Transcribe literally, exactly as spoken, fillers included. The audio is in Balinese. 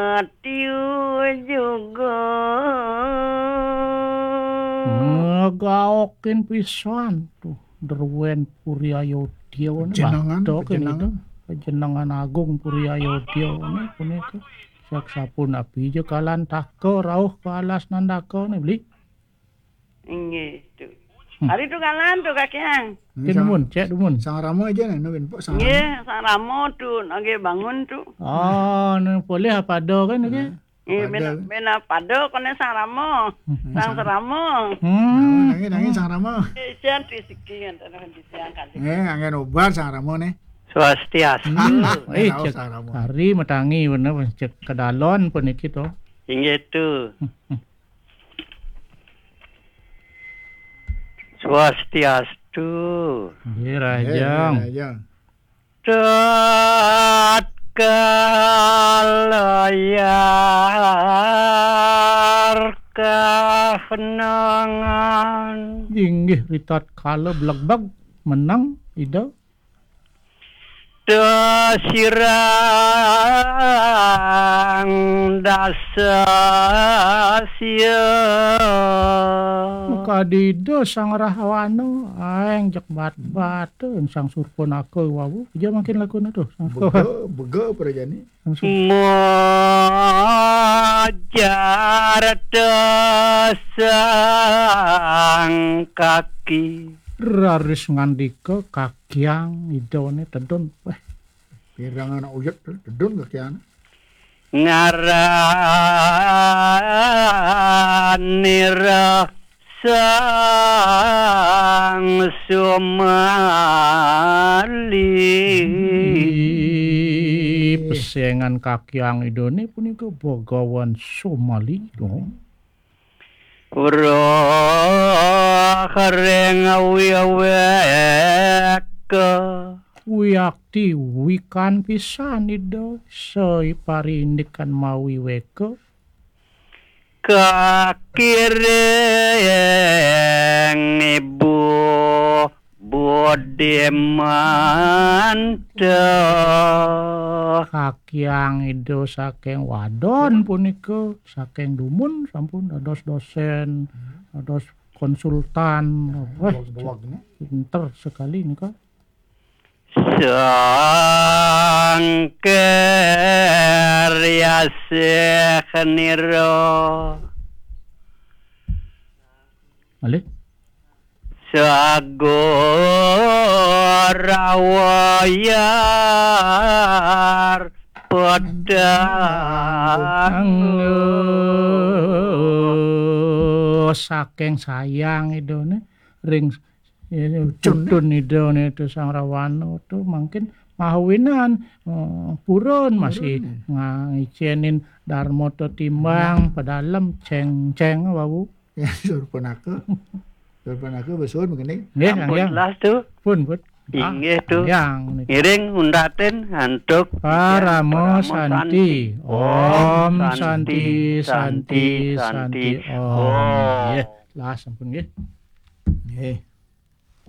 Ratyu juga. Ngegaokin pisan tuh. Derwen Puri Ayodya ini. Jenengan, batok ini jenengan. Tuh. Jenengan Agung Puri Ayodya ini punika. Sak sapunapi ja kalan taka rauh ka alas Nandaka ini, Beli. Inggih, tu. Hmm. Ari tu kalan tu, Kakiang. Ini Cek sang, dumun, cek dumun. Sang Rama aja nih, nungguin Pok Sang Rama. Inggih, Sang Rama tu, lagi bangun tu. Oh, ni boleh apa ada kan lagi? Nah, eh, pada. Bena, bena pada kone Sang Rama. Hmm. Sang Serama. Hmm. Nah, nangis, nangis Sang Rama. Eh, jan rezeki ngenten rezeki angkat. Eh, angin obat Sang Rama nih. Swastiastu. Hmm. Eh, tahu cek Sang Rama. Hari matangi bener, cek kedalon puniki to. Inggih tu. Hmm, hmm. Swastiastu. Nggih, Rahajeng. Nggih, Rahajeng. Tatkala yar kahenengan. Inggih, ritatkala blegbeg meneng Ida. Tasirang dasa sia. Makadi Ida Sang Rahwana, aeng jek bat-baten Sang Surpanaka wau. Aja mangkin lakuna tuh, Sang Surpanaka. Bega, bega prajani. Sang Sur- Mojar tasang kaki. Raris ngandika kakiang Ida ne tedun. Weh. Pirang anak uyut tedun kakiang. Ngaranira Sang Sumali. Pesengan kakiang Ida ne punika Bagawan Sumali, to. Roh ring wiweka. Wiakti wikan pisan Ida, sai parindikan mawiweka. Kakiring ibu budimanta. Kakiang Ida saking wadon punika, saking dumun sampun dados dosen, dados konsultan. Weh, pinter sekali nika. Sangkir yasih nira. Malih? Sagur awayar pedang. Anggo saking sayang Idane ring Cucun. Cucun Idane tu Sang Rawana tu mangkin mawinan, eh, purun masih, purun, ya, nga-, ngicenin darma tetimbang, ya, pedalem ceng-ceng wau. Ya, Surpanaka. Surpanaka besuhun begini. Nggih, ampun, Kang Hyang. Jelas tu. Pun, pun. Inggih tu. Kang Hyang niki. Ngiring untatin antuk parama santi. Om santi, santi, santi, santi, om. Nggih, lah sampun nggih. Nggih.